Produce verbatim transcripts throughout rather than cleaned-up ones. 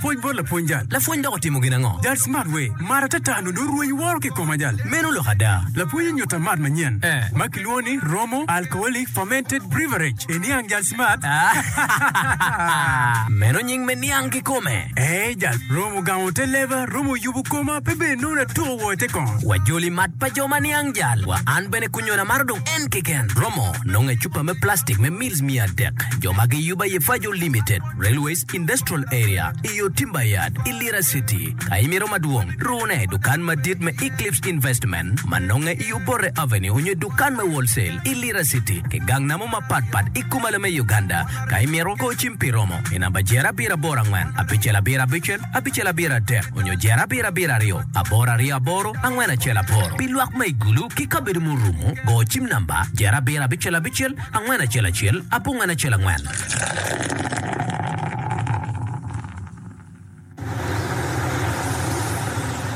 Pwoc bot lapwony jal. Lapwony dok otimo gin ango? Jal Smart we, mat atata nongo orwenyo woro ki i koma jal. Meno lok ada. Lapwony onyuta mat manyen Eh. ma kilwongo ni Romo Alcoholic Fermented Beverage. Iniang jal Smart? Meno nying me niang kikome. Ee jal, Romo gamo te leba, Romo yubo koma, pe bene nongo atuko wo i te kongo. Wajoli mat pa jo ma niang jal. Wa an bene kunyona maro dong en keken. Romo nongo i cupa me plastic me mils miya adek. Jo ma giyubo aye Fajo Limited, Railways Industrial Area, i yo Timber Yard, i Lira City. Ka imito madwong, rune i dukan madit me Eclipse Investment ma nonge i Obote Avenue onyo i dukan me Wholesale i Lira City ki gang namo mapatpat i kumalo me Uganda. Ka imito, go cim pi romo i namba jer abiro aboro angwen abicel abiro abicel abicel abiro adek onyo jer abiro abiro aryo aboro aryo aboro angwen acel aboro. Pi lwak ma i Gulu ki kabedo murumo, go cim namba jer abiro abicel abicel angwen acel acel abongwen acel angwen.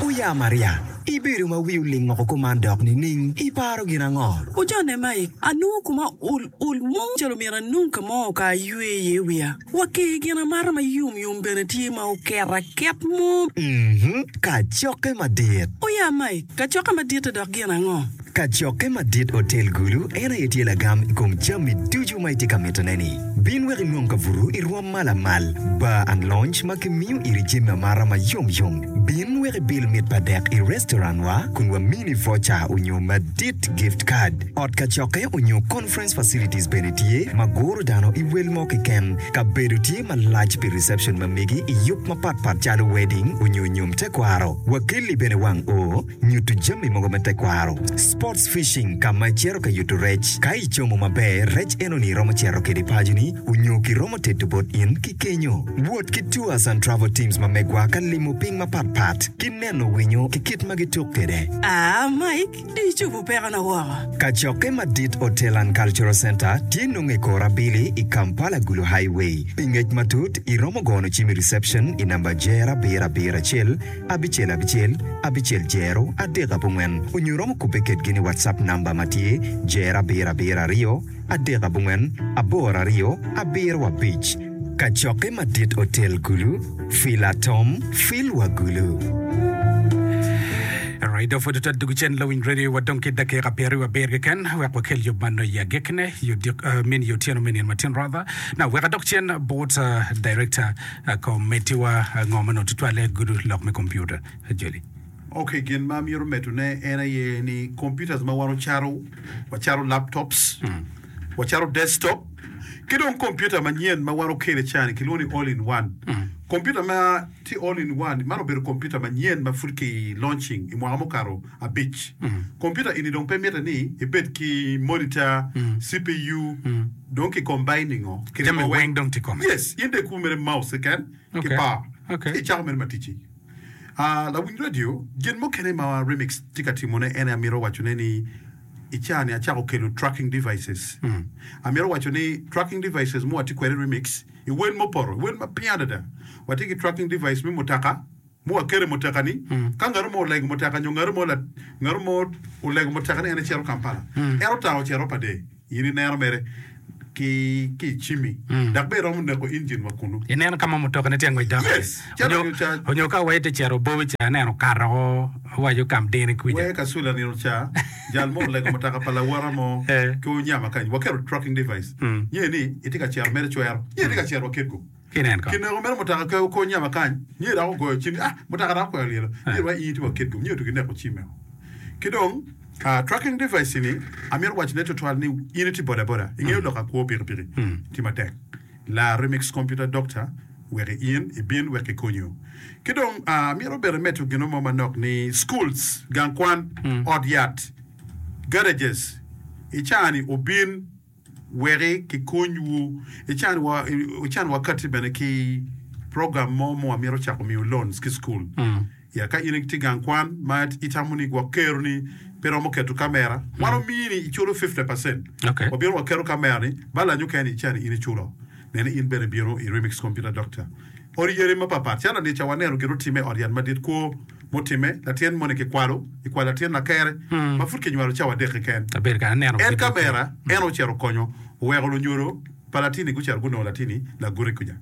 Oya Maria, ibedo ma wi oling woko kuman dok nining? Iparo gin ango? Ojone Mike, anongo kuma ol ol mo calo myero anong ka mo ka aywe iye wiya. Wa ki gin amata ma yomyom bene tye ma oket aket mo. Mhm, kacokke madit. Oya Mike, kacokke madit-te dok gin ango? Kacokke madit Otel Gulu en aye tye lagam i kom jami ducu ma itye ka mitone-ni. Bin wek inwong kabuto i rwom ma lamal, bar and lounge ma kimiyo iri jami amata ma yomyom. Bin wek ibil mit pa dek i restaurant-wa kun wamini voucher onyo madit gift card. Ot kacokke onyo conference facilities bene tye ma guro dano i wel mo keken. Kabedo tye malac pi reception ma megi i yub mapatpat calo wedding onyo nyom tekwaro. Wakelli bene wang oo. Nyuto jami mogo me tekwaro. Sports fishing ka ma icito ka yuto rec. Ka icomo maber, rec enoni iromo cito kede paconi onyo kiromo teto bot in ki kenyo. Wot ki tours and travel teams ma megwa ka limo piny mapat pat ki neno winyo ki kit ma gituk kede. Aa, Mike, dong icobo pekona woko. Kacokke madit Hotel and Cultural Center tye nongo i kor abili i Kampala Gulu Highway. Pi ngec matut, iromo gono cim i reception i namba jer abiro abiro acel abicel abicel abicel jero adek abongwen onyo iromo kubbe kedgi ni WhatsApp namba ma tye jero abiro abiro aryo adek abongwen aboro aryo abiro abic. Kacokke madit Otel Gulu, Fil Atom, Fil wa Gulu. Alright, dong pud otwero dugu cen lawiny radio wa dong ki dakika pyeraryo abiro keken wek wakel yub man i agikine yo dik- uh, min yo otyeno me nino matin rather. Now wek adok cen bot uh, director Komitiwa ngo ma onongo tutwalle gudo lok me kompiuta? Joli. Ok, gin ma amito medone en aye ni computers ma wan wacato, wacato laptops, wacato desktop, ki dong computer manyen ma wan okelo i caa-ni kilwongo ni all in one. Computer ma tye all in one man obedo computer manyen ma pud ki launching i mwaka mukato abic. Computer eni dong pe mitte ni ibed ki monitor, CPU, Dong ki combining o ki Jami rimo weng weng. dong tye kome. Yes, in dong ikubo mere mouse keken ki Okay. power Okay. ci icako mere ma ticci. Ah, lawiny radio, gin mukene ma Remix tye ka timone en aye amito wacone ni i caa-ni acako kelo tracking devices. Amito waco ni tracking devices ma watye kwede i Remix i wel mupoto, i wel ma piny adada. Watye ki tracking device me mutoka ma waketo i mutoka-ni, ka ngat mo olego mutoka nyo ngat mo ngat mo olego mutoka ni en ecito Kampala, en otango ocito pa day. In ineno mere ki ki i cimmi, dok bene iromo neko injin wa kunnu. Ineno ka ma mutokane tye ka ngwec dok iye? Yes! Calo Onyo, nino ca. onyo ka wa itye cito Bobi ca aneno okato oko owaco kam dini kwica. Wee ka cula nino ca, jal mo olego mutoka pa lawota mo Eh. ki onyama kany. Waketo tracking device. Nye ni itye ka cito mere cwero. Nye itye ka cito wa Kitgum. Ki nen ko. Kineko mere mutoka ke oko onyama kany. Nye dok ogoyo cim ni, ah, mutoka dok okwero lyelo. Nye wa in itye wa Kitgum. Nye otugi neko cimme o. Ki dong, tracking device ni amito wacone tutwal ni in itye boda boda, ingeyo lok akwo pikipiki tye matek. Lar Remix Computer Doctor wek in ibin wek kikonyi. Ki dong amito bene medo gino mo manok ni schools, gang kwan, ot yat, garages i caa ni obin weki kikonywu. I caa ni wakati bene ki program mo ma wamito cako miyo loans ki school. Ya ka in itye gang kwan ma itamo ni gwok kero ni pe romo keto kamera, wan omini iculo fifty percent. Okay. Wabino waketo kamera ni balance mukene i cani in iculo. Nene in bene ibino i Remix Computer Doctor. Odi yadi mapapat calo anica waneno gin otime i ot yat madit kwo mutime latin moni kikwalo ikwalo latin lakere ma pud kinywalo cawa adek keken. Abedo ka aneno En video kamera en ocito okonyo oweko lunyodo pa latini gucito gunongo latini laguti kuca.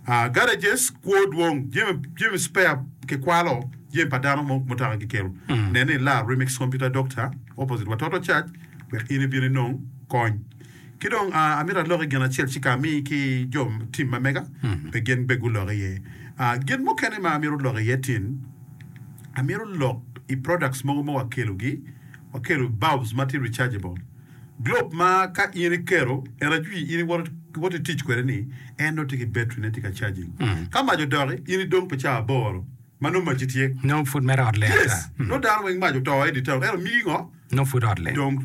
Uh, garages kwo dwong jami jami spare kikwalo jami pa dano mo mutoka kikelo. Nen ni lar Remix Computer Doctor opposite Watoto Church wek in ibin inong kony. Ki dong uh, amito alok i gin acel ci ka ami ki jo team ma mega pe gin be gulok iye. Uh, gin mukene ma amito lok iye tin amito lok i products mogo ma wakelogi wakelo bulbs ma tye rechargeable globe ma ka in iketo en ajwi in iwoto iwoto itic kwede ni en nongo tye ki battery ne tye ka charging ka mac odoki in idong pi cawa aboro ma nongo maci tye Nongo pud mere ot leng yes ata. nongo dano weng mac oto i di town ento migi ngo Nongo pud ot leng. dong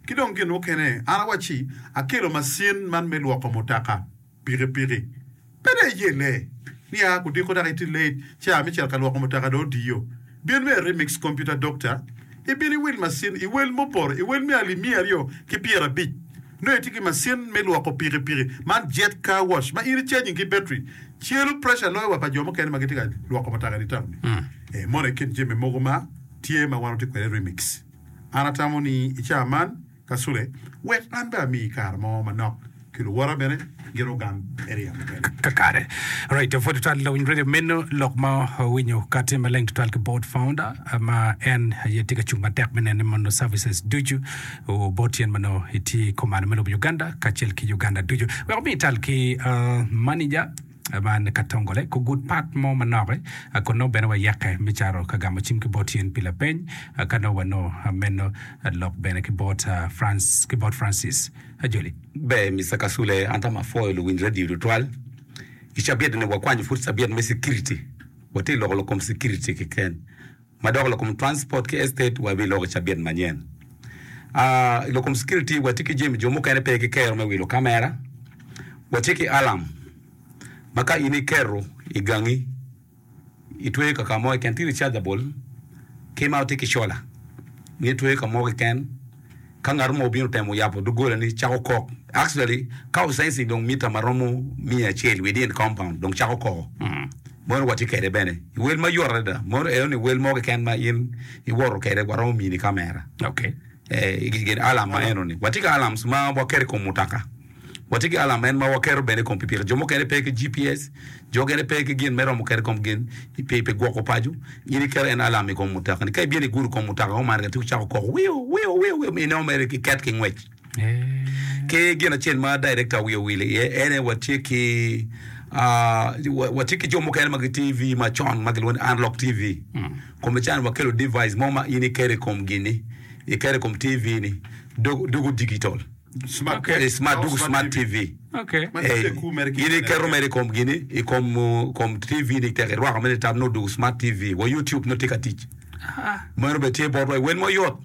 ki dong gin mukene an awacci akelo macin man me lwoko mutoka pikipiki pe dong iyelle niya kudiko dok itye late ca me cito ka lwoko mutoka dong odiyo bin me Remix Computer Doctor ibin iwil macin i wel muporo i wel me alip miya aryo ki pyerabic nongo itye ki macin me lwoko pikipiki man jet car wash ma in icharging ki battery celo pressure loyo wa pa jo mukene ma gitye ka lwoko mutoka i town ni eh, mono i kin jami mogo ma tye ma wan watye kwede Remix an atamo ni i cawa man Kasule wek an bene amiyi kare mo manok ki luwota bene gin ogam area mukene. Kakare. Right, pwod tutwal lawiny radio meno lok ma owinyo ka tye maleng tutwal ki board founder ma en aye tye ka cung matek me nene mono services ducu bot tyen ma nongo itye i komano me lobo Uganda kacel ki Uganda ducu. Wek omi tal ki uh, manager man Katongole ko gud pat mo manok kun nongo bene wayeke me caro ka gamo cim ki bot yen pi lapeny ka nongo wanongo meno lok bene ki bot France ki bot Francis Ajoli. Ber Mister Kasule an tam apwoyo luwiny radio tutwal. I cabit ni wakwanyo pud cabit me security. Watye loko lok kom security keken. Ma dok lok kom transport ki estate wabiloko i cabit manyen. Ah, i lok kom security watye ki jami jo mukene pe ki kero me wilo kamera. Watye ki alarm ma ka in iketo i gangi itweyo ka ka mo keken tye rechargeable ki ma tye ki solar in itweyo ka mo keken ka ngat mo obino temo yabo doggola ni cako kok actually ka osensing dong mita ma romo miya acel within compound dong cako koko meno watye kwede bene i wel mayot adada meno eno ni wel mo keken ma in iwoto kwede waromo mini kamera Okay. eh, gin alarm ma eno ni watye ki alarms ma waketo i kom mutoka watye ki alarm en ma waketo bene i kom pikipiki jo mukene pe ki G P S jo mukene pe ki gin me romo keto i kom gin pi pi gwoko paco in iketo en alarm i kom mutoka ni ka ibino igudo kom mutoka mo man ka cako koko wiu wiu wiu wiu inongo mere kiket ki ngwec ki gin acel ma director wiye owilo iye ene watye ki ah, wa- watye ki jo mukene ma gi T V macon ma gilwongo ni analog T V kome can wakelo device mo ma in iketo i kom gini iketo i kom T V ni dog- dugo digital. Smart. Okay. Eh, smart dugo smart T V. Okay. Ma Eh, tye ku mere ki in iketo mere i kom gini i kom uh, kom T V ni tek irwako mere tab no dugo smart T V wa YouTube no tye ka tic meno bene tye botwa i wel mayot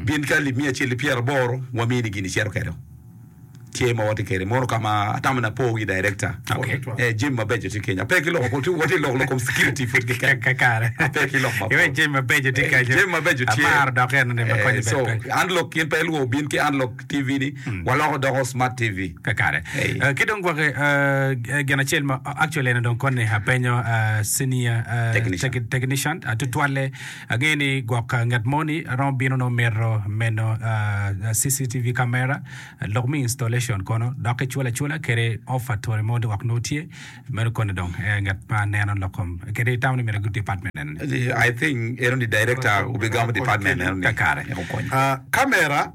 bin ka alip miya acel ki pyeraboro wamini gini icito kwede tye ma watye kwede mono ka ma atamo ni apo gi director. Okay. Eh, jami mabeco tye kenya pe ki loko watye loko lok kom security pud keken Kakare. Pe ki lok mapol. Iwe jami mabeco tye Eh, kenyo. jami mabeco tye. Amaro dok eno ni ma Eh, konyo so bene pe. analog in pe iluwo bin ki analog T V ni waloko doko smart T V. Kakare. Hey. Uh, ki dong gwake uh, gin acel ma actually eno dong koni apenyo uh, senior uh, Technician. tech- technician uh, tutwalle angeyo ni gwok uh, ngat moni romo bino no mito meno uh, C C T V camera uh, lok mi installation kono dok iculo acula kede offer tore mo dok nongo tye meno koni dong eh, ngat ma neno lok kom kede itamo ni myero good department eno ni. I think eno ni director obigamo department eno ni Kakare. Eko konyo. Ah, kamera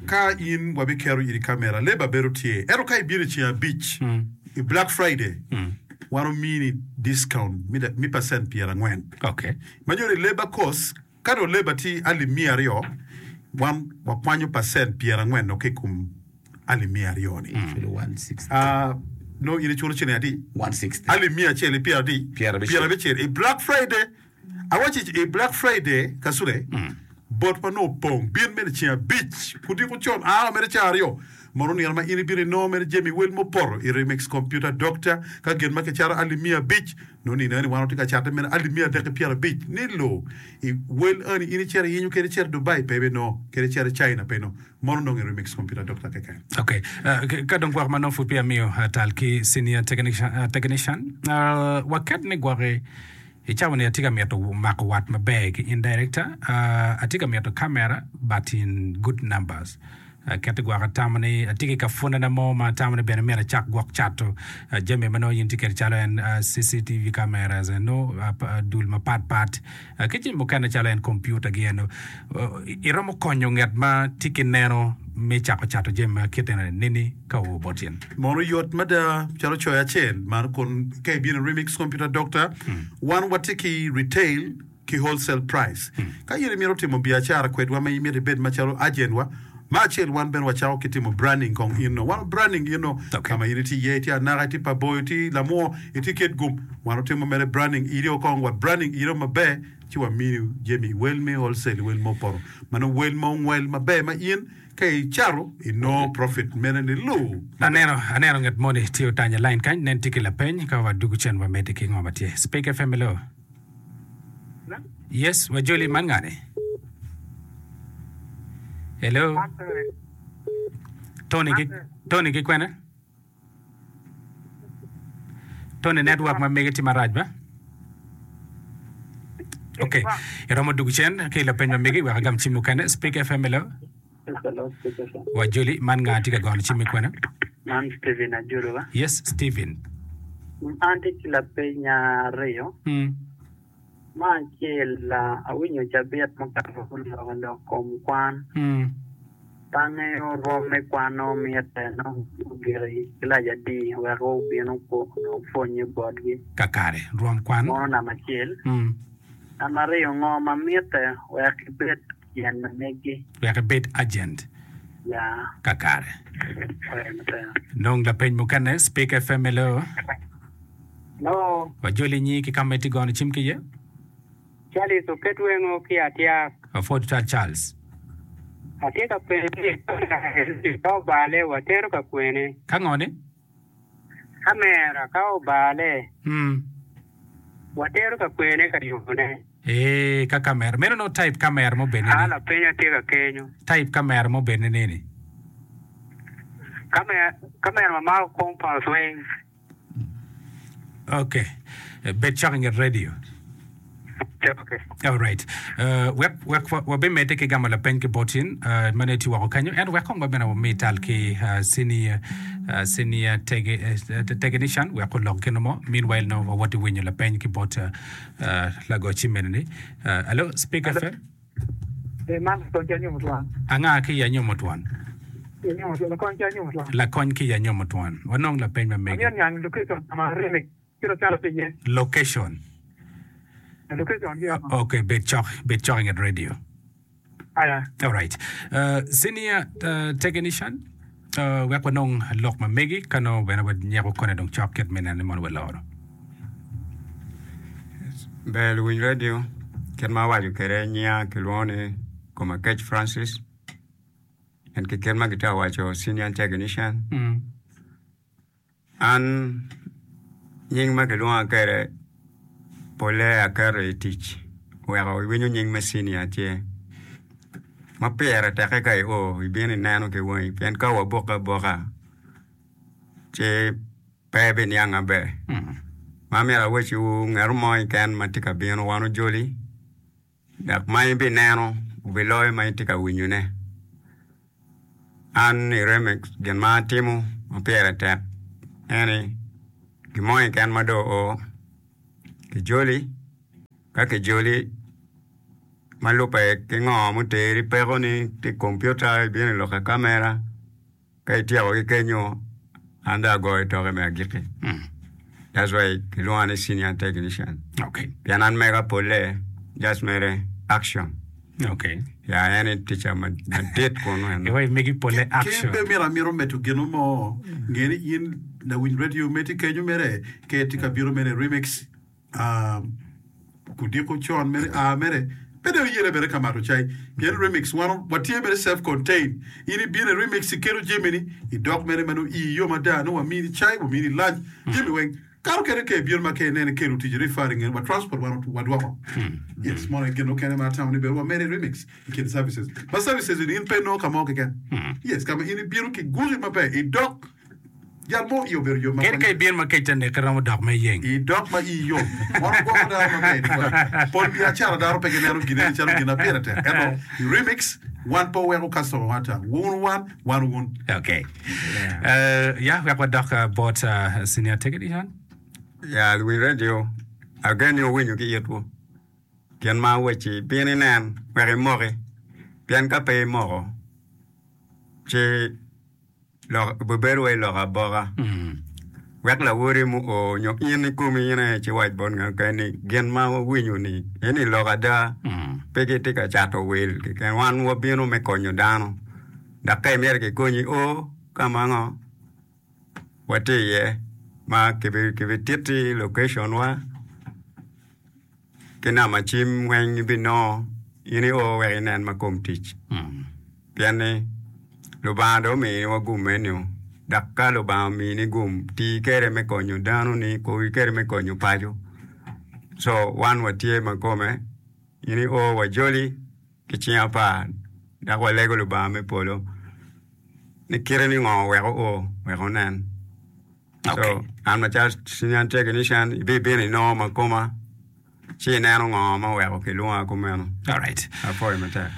ka in wabiketo iri kamera leba bedo tye ento ka ibino i ceng abic i Black Friday wan omini discount mi, mi percent pyerangwen Okay. ma nyuto ni labor cost ka dong labor tye alip miya aryo wan wakwanyo percent pyerangwen no ki i kom alip miya aryo ni. Chulo one sixty. Ah, no in iculo ciling adi? one sixty. Alip miya acel i pyeradi? Pyerabicel. Pyerabicel i Black Friday awaci i Black Friday kasule bot ma nongo opong bin mere ceng abic kudiko con aa mere ceng aryo mono nino ma in ibino inongo mere jami wel mupoto i Remix Computer Doctor ka gin ma kicato alip miya abic nongo nino eni wan watye ka cate mere alip miya adek ki pyerabic ni lo i wel eni in icito iyinyo kede icito Dubai pe ibinongo kede icito China pe inongo mono nongo i Remix Computer Doctor keken. Okay. Uh, k- ka dong gwok ma nongo pud peya amiyo uh, tal ki senior technician, uh, technician. Uh, waket ni gwoki i cawa ni atye ka mito mako wat maber ki in director uh, atye ka mito camera but in good numbers. Keto gwok atamo ni atye ki ka pwonena mo ma atamo ni bene myero acak gwok cato jami ma nongo in itye kwede calo en C C T V cameras eno, dul mapat pat ki jami mukene calo en kompiuta gi eno. Iromo konyo nget ma tye ki neno me cako cato jami ma kit eno nini ka oo bot in? Mono yot mada calo coyo acel man kun ka ibino i Remix Computer Doctor, wan watye ki retail ki wholesale price. Ka in imito timo biacara kwedwa ma imito ibed macalo agent wa, me acel wan bene wacako ki timo branding kong in no. Wan branding in no Okay. ka ma in itye iye, itye Anaka, itye Paboyo, itye Lamwo, itye Kitgum. Wan otimo mere branding iri kong wa branding iri maber ci wamini jami i wel me wholesale i wel ma opoto. Mano wel ma ongwel maber ma in ka icato inongo profit mene ni lu. Aneno aneno ngat moni tye otanyo line kany nen tye ki lapeny ka wadugu cen wamedde ki ngo ma tye. Speak F M hello. Yes, wajoli man ngani? Hello. Tony ki Tony ki kwene? Tony network ma mege tye marac ba? Okay. Iromo dugu cen ki lapeny ma mege wek agam cim mukene. Speak F M hello. Hello, Speak F M. Wajoli man nga tye ka gono cim i kwene? Man Steven Ajuluwa. Yes, Steven. An tye ki lapeny aryo. Mm. Me acel, awinyo cabit mukato guloko lok kom kwan. Mm. Pe angeyo rwom me kwan-nu mitte nongo ogik i kilac adi wek obin opwonye botgi. Kakare, rwom kwan. Mono namba acel. Mm. Namba aryo, ngo ma mitte wek ibed agent ma megi? Wek ibed agent. Ya. Kakare. Oya maber. Nong lapeny mukene, Speak F M hello. Hello. Wajoli nyi ki ka ma itye gono cim ki iye. Charles oket wengo ki atyak. Apwod twal Charles. Atye ka penyo ni ka obale watero ka kwene? Ka ngo ni? Kamera ka obale Mm. watero ka kwene ka yubone? Ee, ka kamera. Meno nongo type kamera mo bene A ni. lapeny atye ka kenyo. Type kamera mo bene neni. Kamera kamera ma mako compounds weng. Okay. Bed cok i nget radio. Okay. All right. Uh, wek wek wabimedde ki gamo lapeny ki bot in uh, ma ne tye woko kenyo ento wek kong wabene wami tal ki uh, senior, uh, senior tege, uh, technician wek olok gin mo. Meanwhile no wawoti winyo lapeny ki bot uh, uh, lago cim mene ni. Uh, hello, Speak F M. Eh, man lakony ki anyomo twon. Anga ki i anyomo twon? Anyomo twon, lakony ki anyomo twon. Lakony ki i anyomo twon. Wanong lapeny ma megi. Amito niang location ma remix kit ocalo tye iye. Location. Location ki oko. Okay, bed cok, bed cok i nget radio. Aya. All right. Uh, senior uh, technician, uh, wek wanong lok ma megi ka nongo bene wanyeko kone dong cok kit me neno ni mono waloro. Ber luwiny radio kit ma awaco kwede nyinga kilwongo ni Komakech Francis en ki kit ma gitye ka waco senior technician. Mm. An nying ma kilwonga kwede pole aketo i tic weko iwinyo nying me senior tye ma pire teke ka io ibino ineno ki wangi pien ka wabukke abuka ci pe ibiniang maber. Ma myero awacciwu ngat mo keken ma tye ka bino wan ojoli dok ma ibineno obiloyo ma itye ka winyone. An i Remix gin ma atimo ma pire tek eni gin mo keken ma dong oo kijoli ka kijoli ma lubbe ki ngo muteri pekoni tye i kompiuta ibino iloko i kamera ka ityeko ki kenyo an dong agoyo toke me agikki. That's why kilwonga ni senior technician. Okay. Pien an mega pole just mere action. Okay. Ya en ticca madit kunu eno. Iwaci megi pole Ki action. be myero amito medo gino mo nge ni in lawiny radio meti kenyo mere ke tye ka bino mere remix ah, kudiko con mere a mere pe dong iyene bene ka mato cai pien remix wan watye mere self contained in ibino i remix ikelo jamini idok mere ma nongo ii yom ada nongo wamini cai wamini lunch jami weng kato kede ke ibino ma ke ineno ikelo tic referring wa transport wan wadwoko yes mono gin mukene ma atamo ni bene wamede remix i kin services ma services ni in pe inongo ka mo keken yes ka ma in ibino ki guki maber idok jal mo i obedo yo ma Kadi ka ibino ma kec ta neki romo dok me yeng. Idok ma ii yom wan ogwoko dano maber tutwal. Pol biacara dano pe gineno gineni calo gin ma pire tek ento i remix Wan pe waweko customer wan ata. Wun wan, wan wun. Okay. Uh, ya, wek wadok uh, bot uh, senior technician. Ya, luwiny radio, agen ni wuwinyo ki itwu. Gin ma awacci, bin inen wek imoki, pien ka pe imoko, ci lok obibedo wai lok aboka. Wek lawoti muo nyo in ikomi in aye ci iwac bot ngat mukene ni gin ma wawinyo-ni eni lok ada, pe gitye ka cato wil keken. Wan wabino me konyo dano, dok ka imito kikonyi o ka ma ngo watye iye ma kibititti location-wa ki namba cim weng ibinongo in io wek inen ma kom tic. Pien ni Lubanga dong ominiwa gum meno, dok ka Lubanga omini gum, ti kwede me konyo danoni, ti kwede me konyo paco. Co wan watye ma kome, in io wajoli ki cing apar dok walego Lubanga me polo ni kite ni ngo wek oo wek onen. So an macalo senior technician ibibino inongo ma koma ci ineno ngo ma oweko kilwonga kumeno. Alright. Apwoyo matek.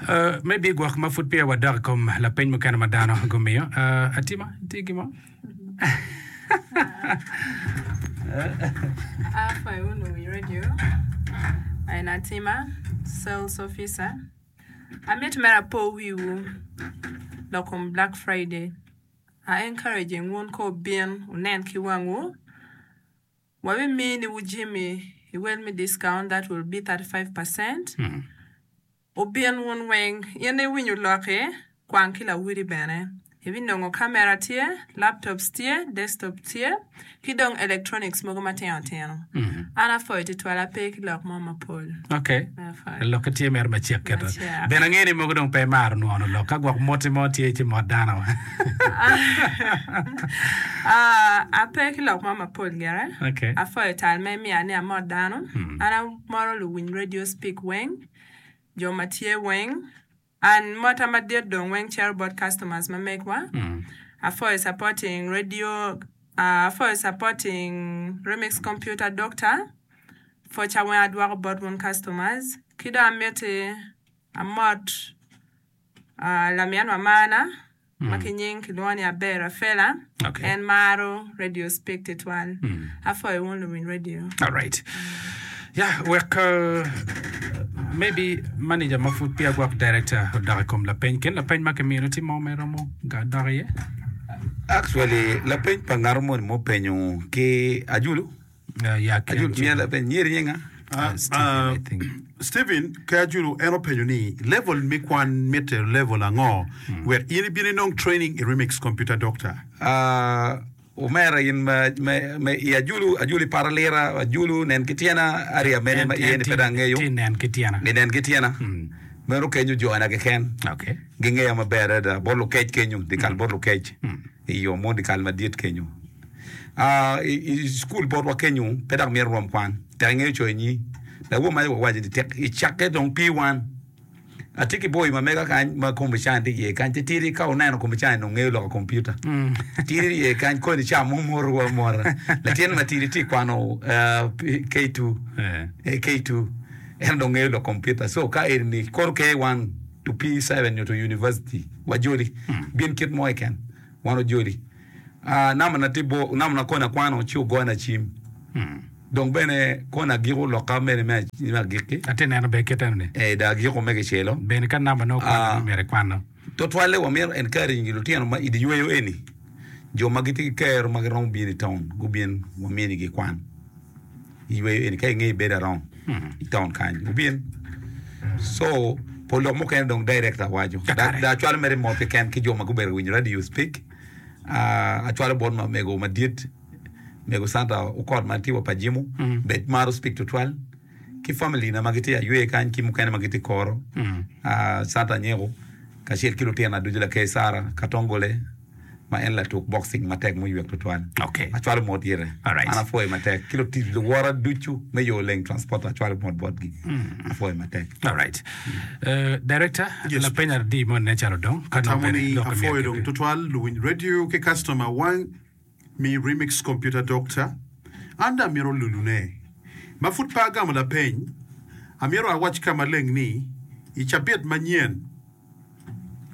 Uh, maybe gwok ma pud peya wadok i kom lapeny mukene ma dano gumiyo. Uh, Atima, itye gin mo? Apwoyo wunu wi radio. En Atima, sales officer. Amito mere apo wiwu lok kom Black Friday. A encouraging wun ka wubin wunen ki wangwu. Wabiminiwu jami i wel me discount that will be thirty five percent. Wubin wun weng. In iwinyo loki, kwang ki lawoti bene. Ibinongo kamera tye, laptops tye, desktop tye, ki dong electronics mogo matino tino. An apwoyo tutwal, ape ki lok mo mapol. Ok. Apwoyo. Lokke tye mere macek keto. Macek. Bene angeyo ni mogo dong pe imaro nwono lok. Ka gwok moti mo tye ci mot dano. Ah, ape ki lok mo mapol gire. Ok. Apwoyo tal ma imiya ni amot dano. An amoro luwiny radio speak weng, jo ma tye weng. An mota madit dong weng cito bot customers ma megwa. Apwoyo supporting radio, apwoyo supporting Remix Computer Doctor. Pwoca weng adwoko bot wun customers. Ki dong amiti amot lamin wa marna ma ki nying kilwongo ni Aber Rafela. Okay. En maro radio speak tutwal. Apwoyo wun luwiny radio. All right. Yeah, wek uh, maybe manager ma pud peya gwok director odok i kom lapeny. Kin lapeny ma kimino tye mo ma iromo ga dok iye? Actually, lapeny pa ngat moni mupenyo ki Ajulu. Uh, yeah, ki Ajulu, miya lapeny. Nyeri nyinga? Ah, Stephen, ah, I think. Stephen ki Ajulu en openyo ni level me kwan mitte level ango wek in ibin inong training i Remix Computer Doctor? Ah, omera in ma, ma, ma i Ajulu, Ajulu i pat alira, Ajulu nen ki tyena, area mene En, ma iye en ni tye, pe dong angeyo. tye nen ki tyena. Ni nen ki tyena. Meno kenyo jona keken. Okay. Gingeya maber adada bot lukec kenyo, dyekal bot lukec. I yo mo dyekal madit kenyo. Ah, i, i cukul botwa kenyo pe dok myero rwom kwan. Tek ingeyo coyo nyi. Lawor maca wawaco ni tek icakke dong pi wan. Atye ki boy ma mega kany ma kompica tye iye kany titidi ka wuneno kompica ni nongo ngeyo loko kompiuta. Tidi iye kany koni ca mo morowa amora. Latin matidi tye kwano uh, K two. Eh, K two. En dong ngeyo lok kompiuta. So ka eni kono K one to P seven nyo to university wajoli. Bin kit mo keken wan ojoli. Ah, namba na tye bor, namba na koni akwano ci ogona cim. Dong bene koni agiko lokka mene me me agikki. Atye neno ber kit eno ni. Eh, dong agiko me kicelo. Bene ka namba nongo kwano Ah, nongo myero ikwano. Tutwalle wamito encouraging lutino ma i dye yweyo eni, jo ma gitye ki kero ma giromo bino i taun gubin waminigi kwan i yweyo eni ka inge ibedo around i taun kany gubin. So pol lok mukene dong director waco. Kakare. Dong acwalo mere mot keken ki jo ma gubedo ka winyo radio speak. Ah, acwalo bot ma mego madit mego Santa Okot ma tye wa pa Jimo bed maro speak tutwal ki family na ma gitye aywe kany ki mukene ma gitye koro ah, Santa Anyeko kacel ki lutina ducu lakeri Sara Katongole ma en latuk boxing matek muywek tutwal. Okay. Acwalo mot ire. Alright. An apwoyo matek ki lutic luwota ducu me yo leng transport acwalo mot botgi. Apwoyo matek. Alright. Uh, director, Yes. lapeny adi mo nen calo dong ka nongo Atamo bene ni lok myero apwoyo dong kibed. tutwal luwiny radio ki customer wang mi Remix Computer Doctor. An dong amito lulune. Ma pud pe agamo lapeny, amito awac ka maleng ni i cabit manyen,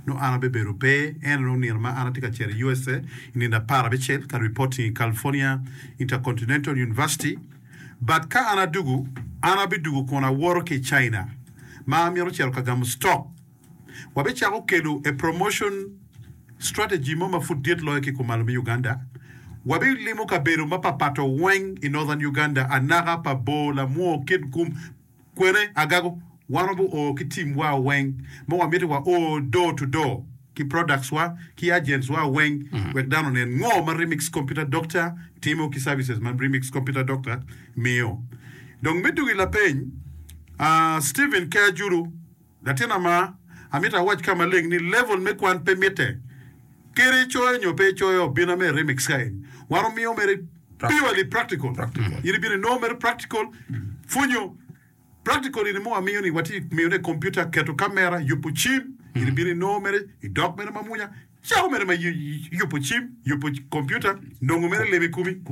nongo an abibedo pe. En nongo nino ma an atye ka cito i USA i nino apar abicel ka reporting i California Intercontinental University. But ka an adugu, an abidugu kun awoto ki i China ma amito cito ka gamo stock. Wabicako kelo a promotion strategy mo ma pud dit loyo ki kumalo me Uganda. Wabilimo kabedo mapapat weng i Northern Uganda, Anaka, Pabor, Lamwo, Kitgum, kwene, Agago. Wan wabi o ki team wa weng ma wamito wa o door to door ki products wa ki agents wa weng wek dano onen ngo ma Remix Computer Doctor timo ki services ma Remix Computer Doctor miyo. Dong me dugo i lapeny, Stephen K. Ajulu, Latin ama, amito awac ka maleng ni level me kwan pe mitte. Kadi icoyo nyo pe icoyo, bina me remix ka eni. Wan omiyo mere purely practical. In ibino inongo mere practical, pwonyo practical ini mo wamiyo ni watye miyo ne computer, keto camera, yubo cim, in ibino inongo mere idok mere mamwonya, cako mere ma yubo cim, yubo computer, nongo mere leb i komi.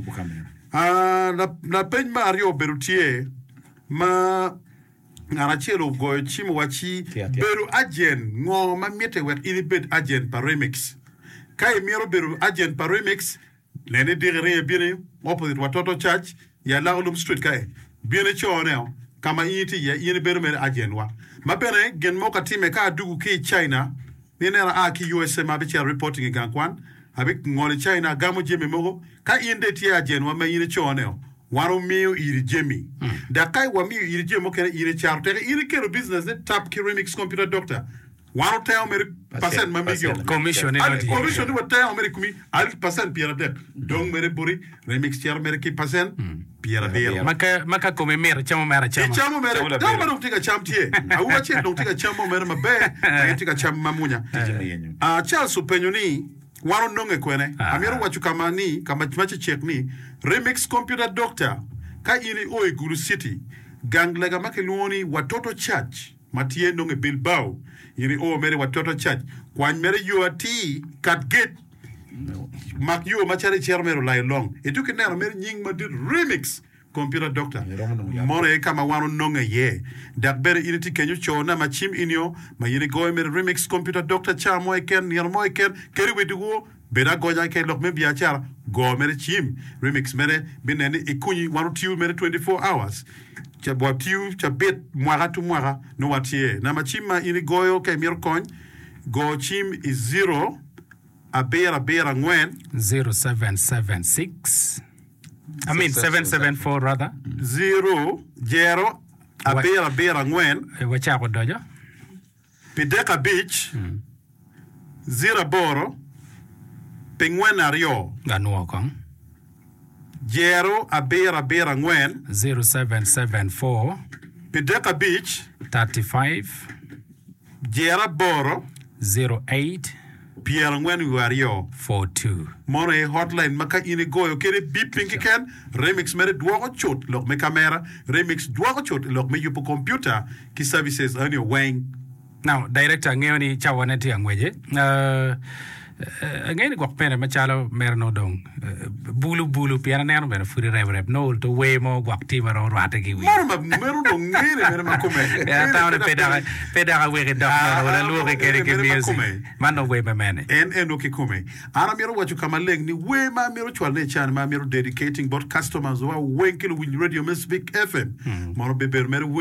Ah, lapeny me aryo obedo tye ma Ngat acel ogoyo cim owacci, Bedo ajen, ngo ma mitte wek in ibed ajen pa Remix? Ka imito bedo ajen pa Remix, nen ni diki ringo ibino opposite Watoto Church i Alakolum Street kae. Bin icone o ka ma in itye iye, in ibedo mere ajen wa. Ma bene gin mo ka time ka adugu ki i China, ni ineno aa ki USA ma abicito reporting i gang kwan, abingolo i China agamo jami mogo. Ka in dong itye ajen wa ma in icone o, Wan omiyo iri jami, dok ka wamiyo iri jami mukene, in icato. Teke in ikelo business ni tap ki Remix Computer Doctor, wan otengo mere percent ma migi o. Commission ni Ali, commission ni watengo mere i komi ali percent pyeradek. Dong mere boti, Remix cito mere ki percent pyerabiro. Ma ka, ma ka komi mito, icamo mere acama. Icamo mere, dano ma dong tye ka cam tye. Awobi acel dong tye ka cam mo mere maber, dok en tye ka cam mamwonya. Ah, Charles openyo ni, Wan ononge kwene? Amito waco ka ma ni, ka ma cecek ni, Remix Computer Doctor, ka in io i Gulu City, gang lega ma kilwongo ni Watoto Church ma tye nongo i Bilbao, in io mere i Watoto Church, kwany mere yo atir, kat gate, mak yo macalo icito mere olayo long, ituki neno mere nying madit Remix Computer Doctor, mono aye ka ma wan ononge iye. Dok bene in itye kenyo co namba cim inio ma in igoyo mere Remix Computer Doctor ca mo keken, nino mo keken, kadi wi dyewor, bed agonya ka i lok me biacara, go mere cim. Remix mere binen ni ikunyi wan otiyo mere twenty four hours, ca watiyo cabit mwaka tu mwaka nongo watye. Namba cim ma in igoyo ka imito kony, go cim i zero abiro abiro angwen. Zero seven seven six. I mean seven seven four rather. Zero, jero, abiro abiro angwen. Wacako odoco. Pi dek abic, zero aboro, pi ngwen aryo. Anwo kong. Jero abiro abiro angwen. Zero seven seven four. Pi dek abic. Thirty five. Jero aboro. Zero eight. Pyerangwen wiye aryo. Four two. Mono aye hotline ma ka in igoyo kede bip piny keken, Remix mere dwoko cut lok me kamera, Remix dwoko cut i lok me yubo kompiuta ki services eni weng. Now, director angeyo ni cawa ne tye angwece. Uh, angeyo ni gwok bene macalo mere nongo dong bulu bulu pien aneno bene pud irebo reb nongo ol to wer mo gwok tye ma romo rwate ki wi. Meno ma meno dong ngene mere ma kome. Atamo ni pe dok pe dok aweki dok nono ol alwoki kede ki music. Man dong wer me mene? En eno kikome. An amito waco ka maleng ni wer ma amito cwalone i can ma amito dedicating bot customers wa weng ki luwiny radio me Spik FM mono bibedo mere wer